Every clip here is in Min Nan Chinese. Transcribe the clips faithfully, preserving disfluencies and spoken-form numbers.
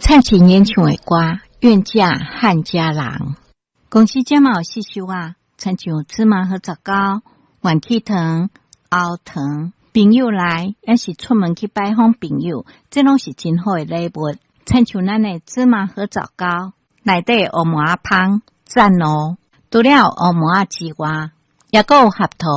蔡琴演唱的歌《愿嫁汉家郎》。公司這嘛有市售啊，親像芝麻核棗糕、元氣糖、喉糖，朋友來，抑是出門去拜訪朋友，這攏是真好的禮物。親像咱的芝麻核棗糕，內底烏麻仔芳讚哦！除了烏麻仔之外，抑閣有合桃、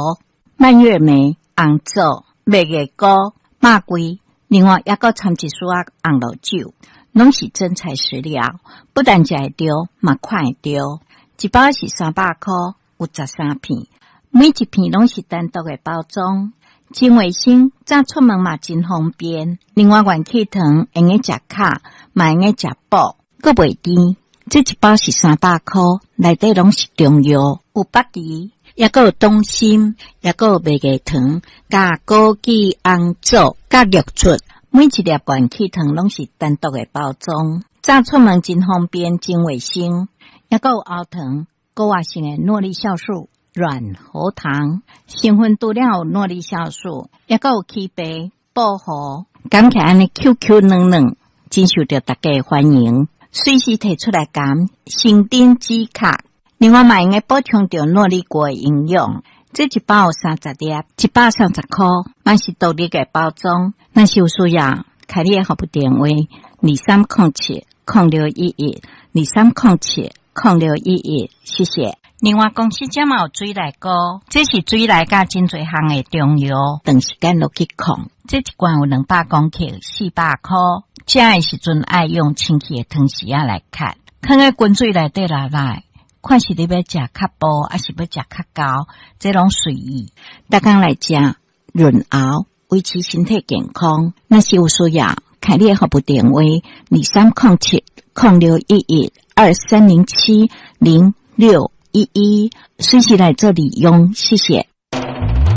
蔓越莓、紅棗、麥芽菇、肉桂，另外抑閣摻一絲仔紅露酒，攏是真材實料，不但食會著，嘛看會著。一包是三百箍，有十三片，每一片攏是單獨的包裝，真衛生，早出門嘛真方便。另外，元氣糖會用食巧，嘛會用食補，閣袂甜。這一包是三百箍，內底攏是中藥，有北芪，抑閣有黨參，抑閣有麥芽糖，佮枸杞、紅棗、佮玉竹。每一粒元氣糖攏是單獨的包裝，早出門真方便，真衛生。抑閣有喉糖，高活性的諾麗酵素軟喉糖，成分除了有諾麗酵素，抑閣有枇杷、薄荷，含起來按呢 Q Q 軟軟，真受著大家的歡迎。隨時提出來含，生津止渴。另外嘛會用補充著諾麗果的營養。這一包有三十粒，一百三十箍，嘛是獨立的包裝。若是有需要，開你的服務電話：二三空七空六一一，二三空七空六一一，謝謝。另外，公司這嘛有水內膏，這是水內佮真濟項的中藥，長時間落去控。這一罐有兩百公克，四百箍。食的時陣愛用清氣的湯匙仔來崁，囥佇滾水內底落來，看是你欲食較薄，抑是欲食較厚，這攏隨意。逐工來食潤喉，維持身體健康。若是有需要，開你的服務電話：二三空七空六一一二三零七零六一一，隨時來做利用。謝謝。